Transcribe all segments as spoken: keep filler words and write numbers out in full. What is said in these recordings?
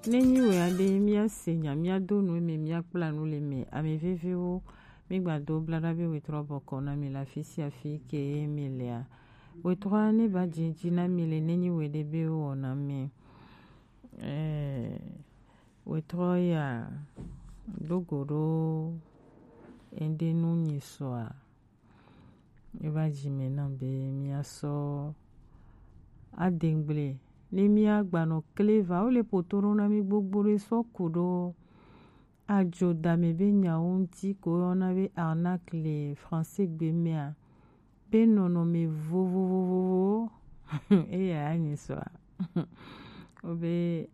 Ne nyi wɛ aɖe, míase nya, míado nu eme, míakpla nu le eme. Ame veviwo, mígbado blaɖa be wetrɔ bɔkɔ na mi le afi sia afi ke mi lea. Wetrɔ ne ba dzi dzi na mi le ne nyi wɛ ɖe be wɔ na mi. Eh, wetrɔ ya do go ɖo ende nu nyi sɔa. Eva dzi me na be míasɔ adegble ne míagbanɔ kleva. Wole poto ɖo na mí gbogbo ɖe sɔ ku ɖo adzo dame be nyawo ŋuti ko yɔna be arnaque le français gbe mea, be nɔnɔme vovovovovo eya ya nyi sɔa. Wobe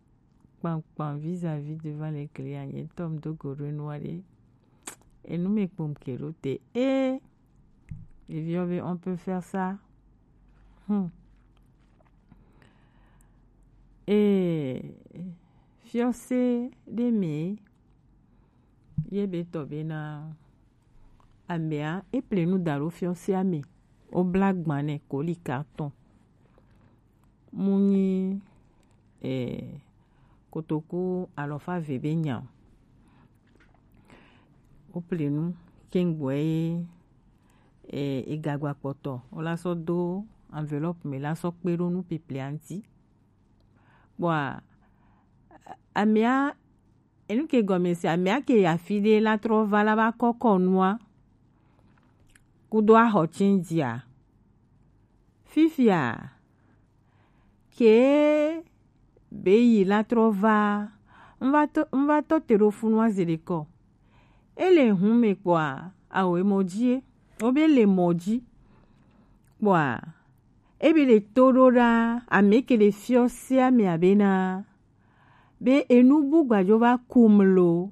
kpankpan vis-à-vis devant les clients, nye ŋutɔ medo go ɖo enua ɖe. Enu me kpom ke ɖo te. Eh, eviɔ be on peut faire ça. Hmm. Eh, fiɔse ɖe me ye be tɔ be na amea eple nu da ɖo fiɔsea me. Wobla gban nɛ koli carton. Mu nyi eh, kotoku alɔfa ve be nya o. Wople nu kengboe ye eh, egagba kpɔtɔ wola sɔ do enveloppe me la sɔ kpe ɖo nu piplia ŋuti. Kpɔa amea enu ke gɔme se amea ke yi afi ɖe la trɔ va la va kɔkɔ nua kudo axɔ tsindzia. Fifia ke be yi la trɔ va, n va tɔ te ɖo funu azi ɖekɔ. Ele hun me kpɔa, awo emɔ dzi ye. Wo be le mɔ dzi kpɔa, ebe le to ɖo ɖa ame ke le fiɔ se ame abe na be enu bu gbadzo va kum lo.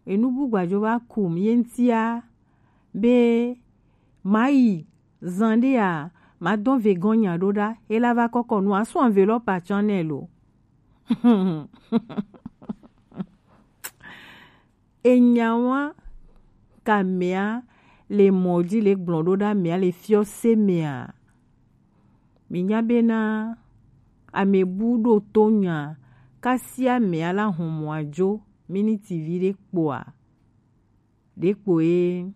Enu bu gbadzo va kum ye ŋutia be mayi zan ɖea madɔn vegɔn nya ɖo ɖa ela va kɔkɔ nu asu enveloppe atsɔ nɛ lo. Enyawa ka mea le mɔ dzi le gblɔ ɖo ɖa mea le fiɔ se mea. Mi nya bena ame bu ɖo to nya kasi amea la hɔn mɔ adzo miniti vi ɖe kpoa ɖe kpo ye